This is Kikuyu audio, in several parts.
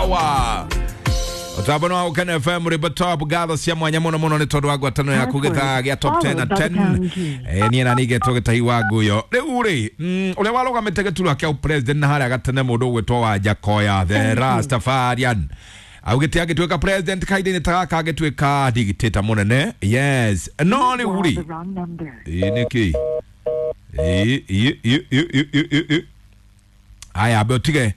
Sawa Ũtambo wa Gũkena FM rwĩmbo top, ngatho cia mwanya mũno mũno nĩ tondũ wa ngwatanĩro yaku gĩthaa gĩa top 10 na 10. Niĩ na nigetwo gĩtahi wa nguyo rĩu rĩ, ũrĩa warũgamĩte gĩturwa kĩa president na harĩa gatene, mũndũ ũgwĩtwo wa Njakoya the Rastafarian, augĩte angĩtuĩka president kahinda-inĩ ta gaka angĩtuĩka dictator mũnene. Yes, no rĩu rĩ, ĩ nĩkĩ? Ĩ, ĩ, ĩ, ĩ, ĩ, ĩ, ĩ, ĩ. Aya, ambe ũtige,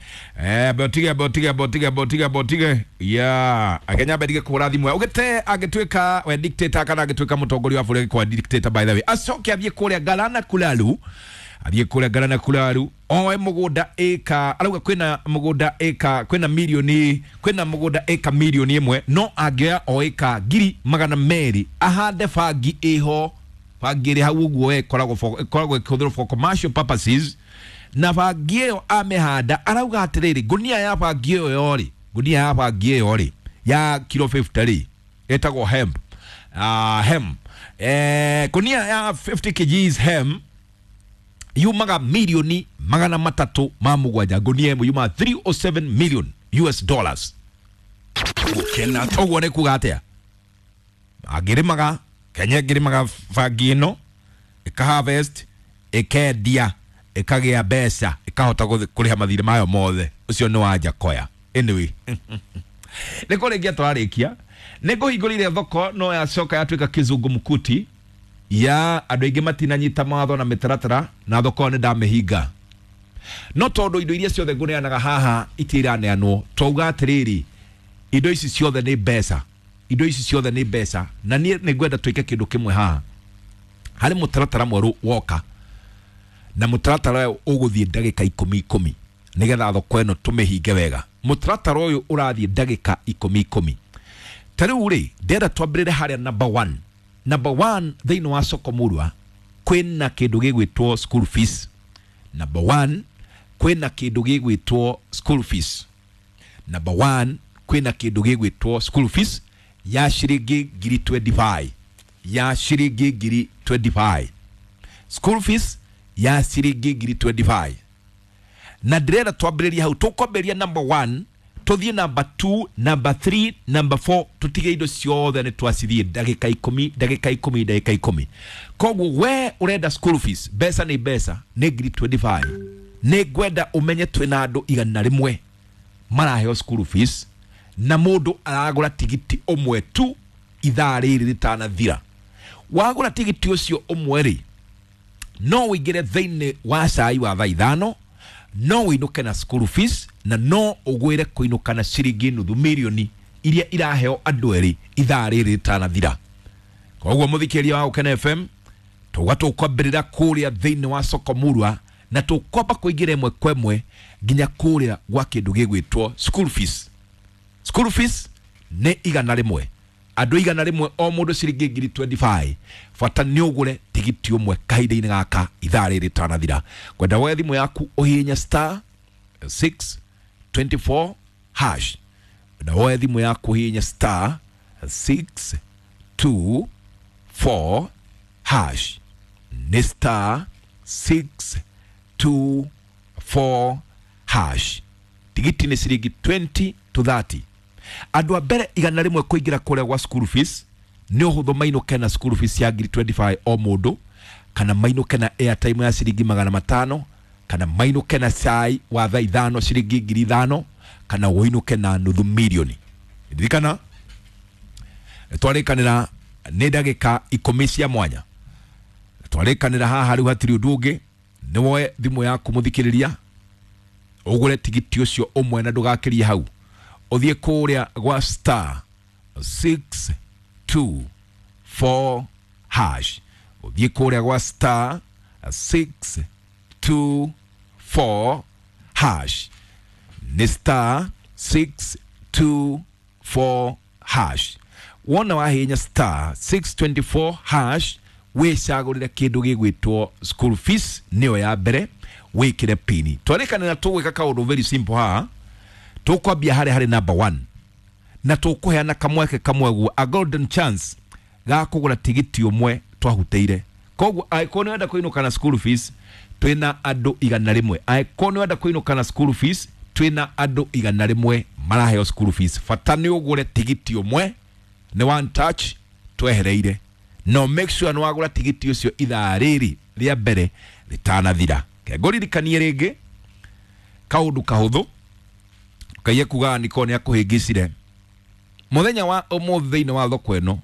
ambe ũtige, ambe ũtige, ambe ũtige, ambe ũtige, ambe ũtige ya akenya ambe ndige kũhũra thimũ. Augĩte angĩtuĩka we dictator kana angĩtuĩka mũtongoria wa bũrũri, kwa dictator by the way, acoke athiĩ kũrĩa Galana Kulalu, athiĩ kũrĩa Galana Kulalu oe mũgũnda ĩka, arauga kwĩna mũgũnda ĩka, kwĩna milioni, kwĩna mũgũnda ĩka 1 million, no angĩoya o ĩka 200,000 ahande bangi ĩho, bangi ĩrĩ hau ũguo we ĩkoragwo ĩkĩhũthĩrwo for commercial purposes, na bangi ĩyo amĩhanda, arauga atĩrĩrĩ, ngunia ya bangi ĩyo yorĩ, ngunia ya bangi ĩyo rĩ ya kilo 50 rĩ, ĩtagwo hemp, hemp, ngunia ya 50 kgs hemp yumaga 307 million, ngunia ĩmwe yumaga 307 million US dollars. Gũkena. Ũguo nĩ kuga atĩa? Angĩrĩmaga Kenya, ĩngĩrĩmaga bangi ĩno, ĩka harvest, ĩkendia, ĩkagĩa mbeca, ĩkahota kũrĩha mathirĩ mayo mothe. Ũcio nĩ wa Njakoya. Anyway, nĩ kũrĩkia tũrarĩkia, nĩ ngũhingũrĩire thoko no yacoka yatuĩka kizungumkuti ya andũ aingĩ matinanyita mawatho na mĩtaratara, na thoko ĩyo nĩ ndamĩhinga, no tondũ indo iria ciothe ngũneanaga haha itiraneanwo, twauga atĩrĩrĩ, indo ici ciothe nĩ mbeca, indo ici ciothe nĩ mbeca, na niĩ nĩ ngwenda twĩke kĩndũ kĩmwe haha. Harĩ mũtaratara mwerũ woka, na mũtaratara ũyũ ũgũthiĩ ndagĩka ikũmi ikũmi, nĩgetha thoko ĩno tũmĩhinge wega. Mũtaratara ũyũ ũrathiĩ ndagĩka ikũmi ikũmi. Ta rĩu rĩ, ndĩrenda twambĩrĩre harĩa number one. Number one, thĩinĩ wa soko murwa kwĩna kĩndũ gĩgwĩtwo school fees. Number one, kwĩna kĩndũ gĩgwĩtwo school fees. Number one, kwĩna kĩndũ gĩgwĩtwo school fees ya ciringi 25,000, ya ciringi 25,000, school fees ya ciringi 25,000. Na ndĩrenda twambĩrĩrie hau. Tũkwambĩrĩria number one, tũthiĩ number two, number three, number four, tũtige indo ciothe nĩ twacithiĩ ndagĩka 10, ndagĩka 10, ndagĩka 10. Koguo we ũrenda school fees, mbeca nĩ mbeca, nĩ 25,000. Nĩ ngwenda ũmenye twĩna andũ 100 maraheo school fees, na mũndũ aragũra tigiti ũmwe tu ithaa rĩrĩ rĩtanathira. Wagũra tigiti ũcio ũmwe rĩ, no ũingĩre thĩinĩ wa cai wa thaa 5, no ũinũke na school fees, na no ũgwĩre kũinũka na ciringi 500,000 iria iraheo andũ erĩ ithaa rĩrĩ rĩtanathira. Koguo mũthikĩria wa Gũkena FM, tuga tũkwambĩrĩra kũrĩa thĩinĩ wa soko murwa, na tũkwamba kũingĩra ĩmwe kwa ĩmwe nginya kũrĩa gwa kĩndũ gĩgwĩtwo school fees. School fees nĩ 100, andũ 100, o mũndũ ciringi 25,000. Bata nĩ ũgũre tigiti ũmwe kahinda-inĩ gaka ithaa rĩrĩ rĩtanathira. Kwenda woe thimũ yaku ũhihinye star 624 hash, na woe thimũ yaku ũhihinye star 624 hash, nĩ star 624 hash. Tigiti nĩ ciringi 20 to 30. Andũ a mbere 100 kũingĩra kũrĩa gwa school fees nĩ ũhũthũ mainũke na school fees ya 25,000 o mũndũ, kana mainũke na airtime ya ciringi 500, kana mainũke na cai wa thaa 5 ciringi 5,000, kana ũinũke na 500,000. Ririkana twarĩkanĩra nĩ ndagĩka 10 cia mwanya twarĩkanĩra haha. Rĩu hatirĩ ũndũ ũngĩ, nĩ woe thimũ yaku mũthikĩrĩria, ũgũre tigiti ũcio ũmwe na ndũgakĩrie hau, ũthiĩ kũrĩa gwa star 624 hash, ũthiĩ kũrĩa gwa star 624 hash, nĩ star 624 hash. Wona wahinya star 624 hash, wĩcagũrĩre kĩndũ gĩgwĩtwo school fees, nĩyo ya mbere, wĩkĩre pini. Twarĩkanĩra tũgwĩka kaũndũ very simple haha. Tũkwambia harĩa harĩ number one, na tũkũheana kamweke kamwe guo, a golden chance ga kũgũra tigiti ũmwe twahutĩire. Koguo angĩkorwo nĩ wenda kũinũka na school fees, twĩna andũ 100. Angĩkorwo nĩ wenda kũinũka na school fees, Twĩna andũ 100 maraheo school fees. Bata nĩ ũgũre tigiti ũmwe, nĩ one touch twehereire. No make sure nĩ wagũra tigiti ũcio ithaa rĩrĩ rĩa mbere rĩtanathira. Kengũririkanie rĩngĩ kaũndũ kahũthũ kaiye kuga niko nĩ akũhĩngĩcire mũthenya wa ũmũthĩ thĩinĩ wa thoko ĩno.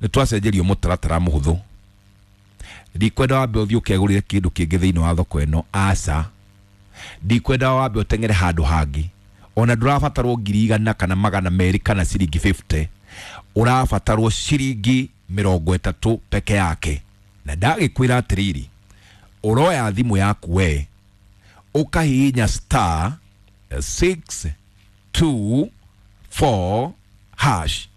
Nĩ twacenjerio mũtaratara mũhũthũ. Ndikwenda wambe ũthiĩ ũkegũrĩre kĩndũ kĩngĩ thĩinĩ wa thoko ĩno, aca. Ndikwenda wambe ũteng'ere handũ hangĩ. Ona ndũrabatarwo 100,000 kana 200 kana ciringi 50, ũrabatarwo ciringi 30 peke yake. Na ndagĩkwĩra atĩrĩrĩ, ũroya thimũ yaku we ũkahihinya star 624 hash,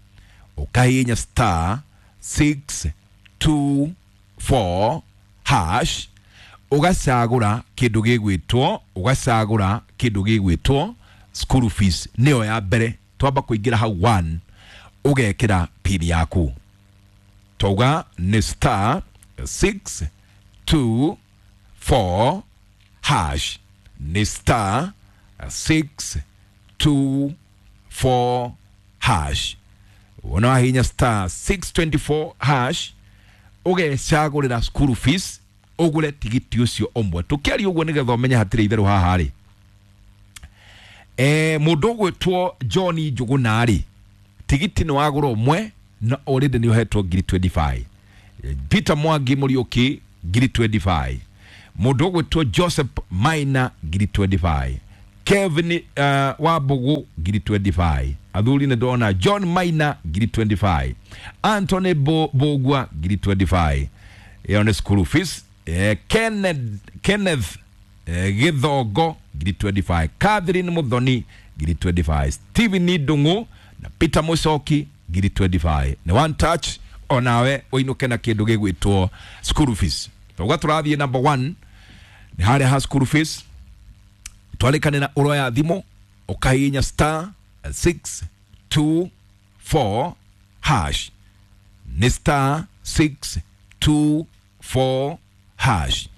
ũkahihinya star 624 hash, ũgacagũra kĩndũ gĩgwĩtwo, ũgacagũra kĩndũ gĩgwĩtwo school fees, nĩyo ya mbere. Twamba kũingĩra hau 1, ũgekĩra pin yaku. Twauga nĩ star 624 hash, nĩ star 624 hash. Wona wahihinya star 624 hash, ũgecagũrĩra school fees, ũgũre tigiti ũcio ũmwe. Tũkĩaria ũguo nĩgetha ũmenye hatirĩ itherũ haha rĩ, mũndũ ũgwĩtwo John Njũgũna rĩ, tigiti nĩ wagũra ũmwe na already nĩ ũhetwo 25,000. Peter Mwangi Mũriũki 25,000. Mũndũ ũgwĩtwo Joseph Maina 25,000. Kevin Wambugu 25,000. Athuri nĩ ndona John Maina 25,000. Anthony Bogwa 25,000. Ĩyo nĩ school fees. Kenneth Githongo 25,000. Catherine Muthoni 25,000. Stephen Ndung'u na Peter Mucoki 25,000. Nĩ one touch onawe ũinũke na kĩndũ gĩgwĩtwo school fees. Twauga tũrathiĩ number 1 nĩ harĩa ha school fees. Twarĩkanĩra ũroya thimũ ũkahihinya star 624 hash, nĩ star 624 hash,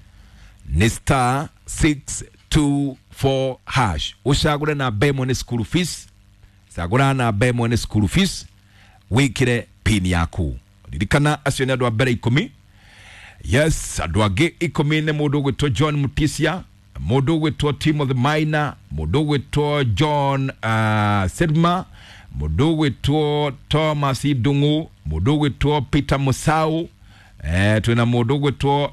nĩ star 624 hash. Ũcagũre namba ĩmwe nĩ school fees, cagũra namba ĩmwe nĩ school fees, wĩkĩre pin yaku. Ririkana acio nĩ andũ a mbere 10. Yes, andũ angĩ 10 nĩ mũndũ ũgwĩtwo John Mutisia, mũndũ ũgwĩtwo Timothy Maina, mũndũ ũgwĩtwo John Sidma, mũndũ ũgwĩtwo Thomas Ndung'u, mũndũ ũgwĩtwo Peter Musau, twĩna mũndũ ũgwĩtwo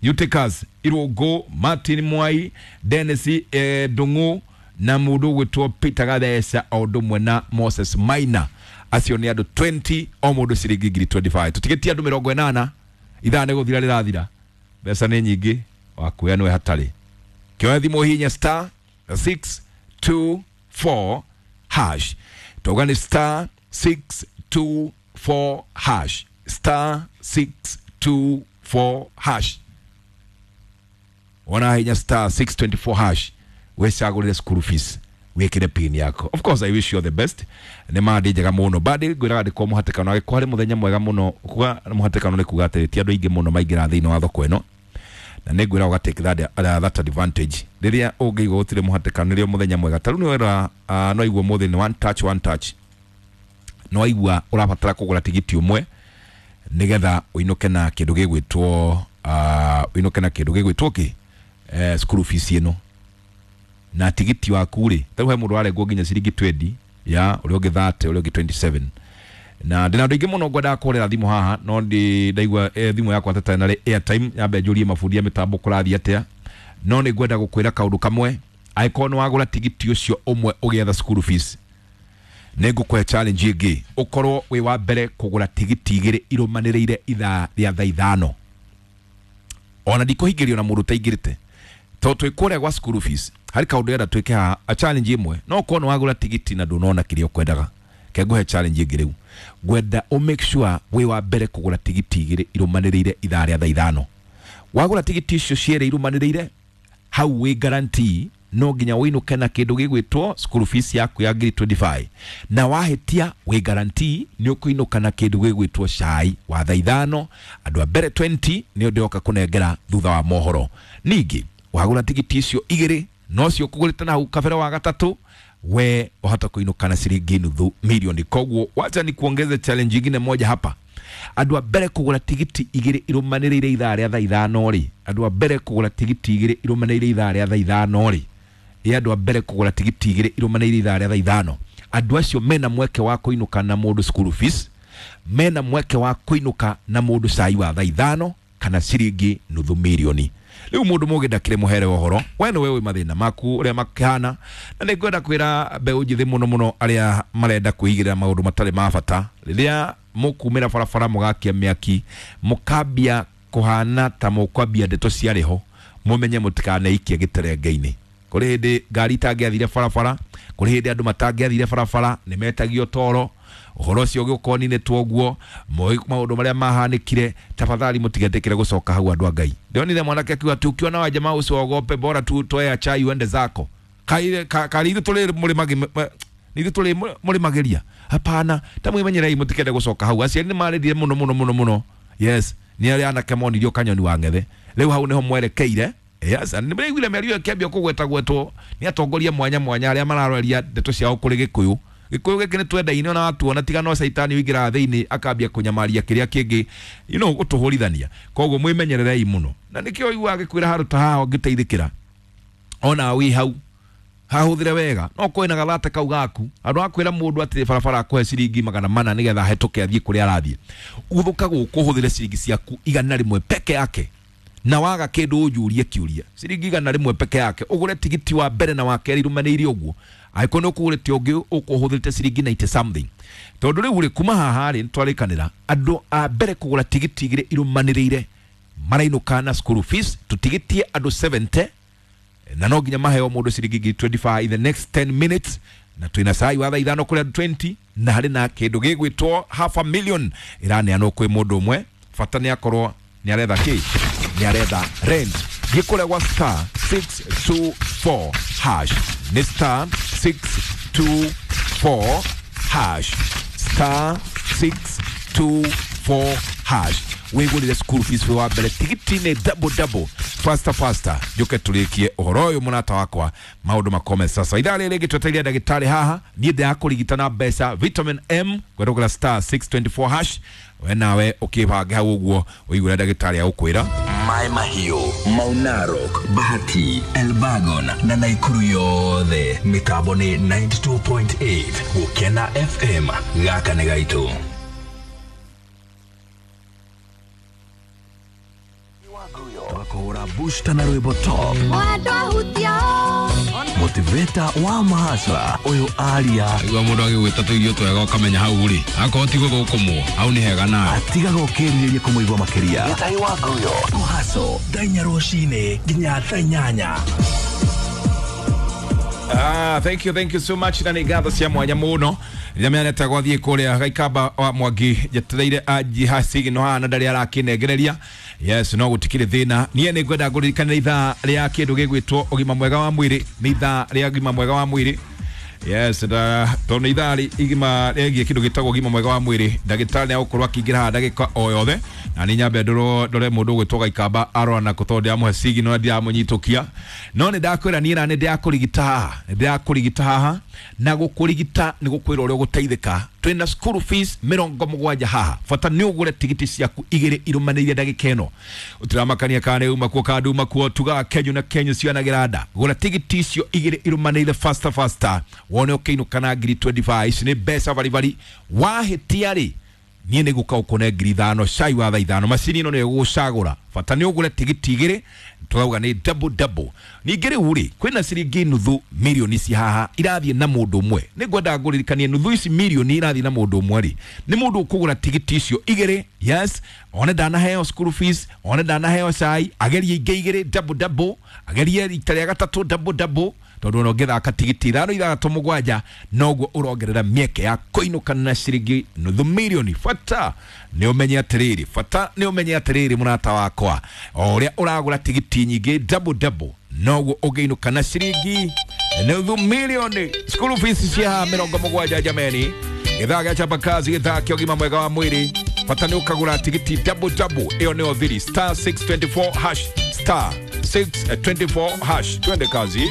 Eutychus Irũngũ, Martin Mwai, Dennis Ndung'u na mũndũ ũgwĩtwo Peter Gatheca o ũndũ ũmwe na Moses Maina. Acio nĩ andũ 20, o mũndũ ciringi 25,000. Tũtigĩtie andũ 80, ithaa nĩ gũthira rĩrathira, mbeca nĩ nyingĩ, wakuoya nĩwe hatarĩ. Kĩoya thimũ hihinya star 624 hash. Twauga nĩ star 624 hash, star 624 hash. Wona hinya star 624 hash, wecagũrĩre school fees, wĩkĩre pin yako. Of course I wish you all the best. Nĩ mandi njega mũno bandi ngwĩraga ndĩkorwo mũhatĩkano agĩkorwo harĩ mũthenya mwega mũno. Kuga mũhatĩkano nĩ kuga atĩrĩ, ti andũ aingĩ mũno maingĩra thĩinĩ wa thoko ĩno, na nĩ ngwĩra ũga take that advantage. Rĩrĩa ũngĩigua gũtirĩ mũhatĩkano nĩrĩo mũthenya mwega. Ta rĩu nĩ wera, no aigua mũthĩ nĩ one touch, one touch, no aigua ũrabatara kũgũra tigiti ũmwe nĩgetha ũinũke na kĩndũ gĩgwĩtwo, ũinũke na kĩndũ gĩgwĩtwo kĩ, school fees ĩno. Na tigiti waku rĩ, ta rĩu he mũndũ arengwo nginya ciringi 20 ya ũrĩa ũngĩ 30, ũrĩa ũngĩ 27. Na ndĩna andũ aingĩ mũno ngwendaga kũhũrĩra thimũ haha, no ndĩ ndaigua thimũ yakwa tata na airtime yambe njũrie mabundi ya mĩtambo kũrathiĩ atĩa. No nĩ ngwenda gũkwĩra kaũndũ kamwe, angĩkorwo nĩ wagũra tigiti ũcio ũmwe ũgĩetha school fees, nĩ ngũkũhe challenge ĩngĩ, ũkorwo wĩ wa mbere kũgũra tigiti 2 irũmanĩrĩire ithaa rĩa thaa 5. Ona ndikũhingĩrio na mũndũ ũtaingĩrĩte, tondũ twĩ kũrĩa gwa school fees harĩ kaũndũ ndĩrenda twĩke haha, a challenge ĩmwe. No ũkorwo nĩ wagũra tigiti na ndũnona kĩrĩa ũkwendaga, ke ngũhe challenge ĩngĩ rĩu. Ngwenda ũ make sure wĩ wa mbere kũgũra tigiti 2 irũmanĩrĩire ithaa rĩa thaa 5. Wagũra tigiti icio cierĩ irũmanĩrĩire, hau wĩ guarantee no nginya ũinũke na kĩndũ gĩgwĩtwo school fees yaku ya 25,000. Na wahĩtia wĩ guarantee nĩ ũkũinũka na kĩndũ gĩgwĩtwo cai wa thaa 5. Andũ a mbere 20 nĩo ndĩroka kũnengera thutha wa mohoro. Ningĩ wagũra tigiti icio 2 No cio kũgũrĩte na hau kabere wa gatatũ we wahota kuinuka na ciringi nuthu milioni. Koguo wacha ni kuongeze challenge ingine moja hapa. Andũ a mbere kũgũra tigiti igĩrĩ irũmanĩrĩire ithaa rĩa thaa ithano rĩ, andũ a mbere kũgũra tigiti igĩrĩ irũmanĩrĩire ithaa rĩa thaa ithano rĩ, ĩ andũ a mbere kũgũra tigiti igĩrĩ irũmanĩrĩire ithaa rĩa thaa ithano, andũ acio mena mweke wa kũinũka na mũndũ school fees, mena mweke wa kũinũka na mũndũ cai wa thaa ithano kana ciringi nuthu milioni. Rĩu mũndũ mũgĩ ndakĩrĩ mũhere wa ũhoro, we nĩwe wĩ mathĩna maku ũrĩa makĩhana, na nĩ ngwenda kwĩra mbeũ njĩthĩ mũno mũno arĩa marenda kwĩigĩrĩra maũndũ matarĩ ma bata. Rĩrĩa mũkumĩra barabara mũgakia mĩaki mũkambia kũhana ta mũkwambia ndeto ciarĩ ho, mũmenye mũtikaneikie gĩterenge-inĩ. Kũrĩ hĩndĩ ngari itangĩathire barabara, kũrĩ hĩndĩ andũ matangĩathire barabara, nĩ metagio toro, ũhoro ũcio ũgĩũka ũninĩtwo ũguo, moĩ maũndũ marĩa mahanĩkire. Tafadhali mũtigetĩkĩre gũcoka hau andũ a Ngai. Ndĩronire mwanake akiuga atĩ ukiona wa jamaa usiogope, bora tu toea chai uende zako. Kaire kari ithuĩ tũrĩ mũrĩmagĩ nithuĩ tũrĩ mũrĩmagĩria. Hapana, ta mwĩmenyerei mũtikende gũcoka hau. Aciari nĩ marĩrire mũno mũno mũno mũno. Yes, nĩ arĩa anake monirio kanyoni wa ng'ethe. Rĩu hau nĩho mwerekeire. Yes, nĩ mraiguire mĩario ĩyo ĩkĩambia kũgwetagwetwo nĩ atongoria mwanya mwanya arĩa mararoria ndeto ciao kũrĩ Gĩkũyũ. Gĩkũyũ gĩkĩ nĩ twendaine ona watuona, tiga no caitani ũingĩraga thĩinĩ akambia kũnyamaria kĩrĩa kĩngĩ, you know, gũtũhũrithania. Koguo mwĩmenyererei mũno, na nĩkĩo ũiguaga gĩkwĩra handũ ta haha ũngĩteithĩkĩra ona wĩ hau hahũthĩre wega. No kwĩna gathate kau gaku andũ akwĩra mũndũ atĩ barabara akũhe ciringi 400 nĩgetha ahetũke athiĩ kũrĩa arathiĩ, uthũka gũkũ ũhũthĩre ciringi ciaku 100 peke yake, na waga kĩndũ ũnjũrie kĩũria, ciringi 100 peke yake ũgũre tigiti wa mbere na wa kerĩ irũmanĩire ũguo. Angĩkorwo nĩ ũkũgũrĩte ũngĩ ũkũhũthĩrĩte ciringi 90 something, tondũ rĩu rĩ kuma haha rĩ nĩtwarĩkanĩra andũ a mbere kũgũra tigiti igĩrĩ irũmanĩrĩire marainũka na school fees, tũtigĩtie andũ 70, na no nginya maheo mũndũ ciringi 25 in the next 10 minutes, na twĩna cai wa thaa ithano kũrĩ andũ 20, na harĩ na kĩndũ gĩgwĩtwo half a million ĩraneanwo kwĩ mũndũ ũmwe. Bata nĩ akorwo nĩ aretha kĩ, nĩ aretha rent. Thiĩ kũrĩa gwa star 624 hash, nĩ star 624 hash, star 624 hash, wĩgũrĩre school fees wĩ wa mbere tigiti nĩ double double, faster faster. Njoke tũrĩkie ũhoro ũyũ mũrata wakwa, maũndũ makome sasa. Ithaa rĩrĩ rĩngĩ twetereire ndagĩtarĩ haha, niĩ ndĩrakũrigita na mbeca vitamin M kwerũgũra star 624 hash. We nawe ũkĩbange hau ũguo ũigue ndagĩtarĩ agũkwĩra. Maĩ Mahiũ, Mau Narok, Bahati, Elbagon na Naikuru yothe mĩtambo nĩ 92.8 Gũkena FM. Gaka nĩ gaitũ. Twakũhũra booster na rwĩmbo top motivator wa mahasla ũyũ aria Igua mũndũ agĩgwĩta tũirio twega ũkamenya hau rĩ akorwo ti gũthũkũmwo hau nĩ hega nawe atigaga ũkĩrirĩria kũmũigua makĩria. Gĩtahi wa Nguyo kũhaco thaa inya rũcinĩ nginya thaa inyanya. Thank you, thank you so much. Na nĩ ngatho cia mwanya mũno rĩrĩa mĩanete gwathiĩ kũrĩa Gaikamba wa Mwangi njetereire anjiha sigino haha na ndarĩ arakĩnengereria. Yes, no gũtikĩrĩ thĩna. Niĩ nĩ ngwenda ngũririkanĩre ithaa rĩa kĩndũ gĩgwĩtwo ũgima mwega wa mwĩrĩ, nĩ ithaa rĩa ũgima mwega wa mwĩrĩ. Yes, tondũ nĩ ithaa igima rĩgiĩ kĩndũ gĩtagwo ũgima mwega wa mwĩrĩ. Ndagĩtarĩ nĩ agũkorwo akĩingĩra haha ndagĩka o yothe, na nĩ nyambe ndore mũndũ ũgwĩtwo Gaikamba arora nako tondũ ndĩramũhe sigino na ndiramũnyitũkia. No nĩ ndakwĩra niĩ na nĩ ndĩrakũrigita haha, nĩ ndĩrakũrigita haha, na gũkũrigita nĩ gũkwĩra ũrĩa ũgũteithĩka. Twĩna school fees 70 haha, bata nĩ ũgũre tigiti ciaku igĩrĩ irũmanĩire ndagĩka ĩno. Ũtiramakania kana nĩ uma kuo kana nduma kuo, tugaga Kenyu na Kenyu cionagĩra nda. Gũra tigiti icio igĩrĩ irũmanĩire faster faster, wone ũkĩinũka na ngiri 25. Ici nĩ mbeca baribari. Wahĩtia rĩ, niĩ nĩ gũka ũkũne ngiri ithano cai wa thaa ithano. Macini ĩno nĩyo ĩgũgũcagũra, bata nĩ ũgũre tigiti igĩrĩ, tũrauga nĩ double double. Ningĩ rĩu rĩ, kwĩna ciringi nuthu mirioni ci haha irathiĩ na mũndũ ũmwe. Nĩ ngwenda ngũririkanie nuthu ici mirioni irathiĩ na mũndũ ũmwe rĩ, nĩ mũndũ ũkũgũra tigiti icio igĩrĩ. Yes, one ndanaheo school fees, one ndanaheo cai, agerie ingĩ igĩrĩ double double, agerie rita rĩa gatatũ double double, tondũ ona ũngĩthaka tigiti ithano ithathatũ mũgwanja noguo ũrongerera mĩeke ya kũinũka na ciringi nuthu mirioni. Bata nĩ ũmenye atĩrĩrĩ, bata nĩ ũmenye atĩrĩrĩ mũrata wakwa, o ũrĩa ũragũra tigiti nyingĩ double double noguo ũngĩinũka na ciringi nuthu mirioni. School fees cia 70 jameni. Gĩthaa gĩa chapa kazi, gĩthaa kĩa ũgima mwega wa mwĩrĩ. Bata nĩ ũkagũra tigiti double double, ĩyo nĩyo thiri star 624 hash, star 624 hash. Twende kazi.